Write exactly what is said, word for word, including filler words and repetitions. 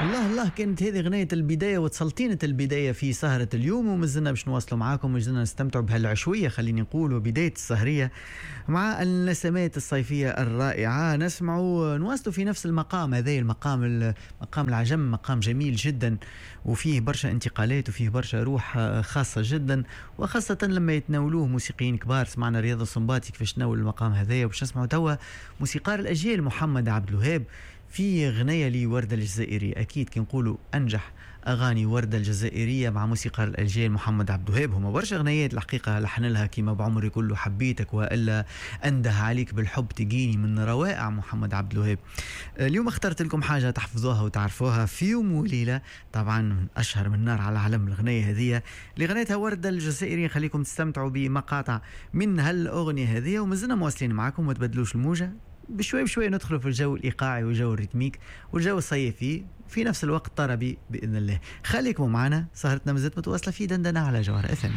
الله الله، كانت هذه غناية البداية وتسلطينة البداية في سهرة اليوم، ومازلنا باش نواصلوا معاكم ومازلنا نستمتعوا بهالعشوية، خليني نقول، وبداية السهرية مع النسمات الصيفية الرائعة. نسمعوا نواصلوا في نفس المقام هذا، المقام مقام العجم، مقام جميل جدا وفيه برشا انتقالات وفيه برشا روح خاصة جدا، وخاصة لما يتناولوه موسيقيين كبار. سمعنا رياض السنباطي كيفاش تناول المقام هذايا، وباش نسمعوا توا موسيقار الأجيال محمد عبد الوهاب في غناية لوردة الجزائرية. أكيد كي نقولوا أنجح أغاني وردة الجزائرية مع موسيقار الأجيال محمد عبد الوهاب، هما برشا غنايات الحقيقة لحن لها، كيما بعمري كله حبيتك، وإلا أنده عليك بالحب تجيني، من روائع محمد عبد الوهاب. اليوم اخترت لكم حاجة تحفظوها وتعرفوها، في يوم وليلة، طبعا من أشهر من نار على العلم الغناية هذه اللي غنيتها وردة الجزائرية. خليكم تستمتعوا بمقاطع من هالأغنية هذه، ومازلنا مواصلين معكم، ما تبدلوش الموجة، بشوي بشوي ندخلوا في الجو الإيقاعي والجو ال rythmique والجو الصيفي في نفس الوقت طربي بإذن الله. خليكم معنا، سهرتنا مازالت متواصلة في دندنة على جوهرة اف ام.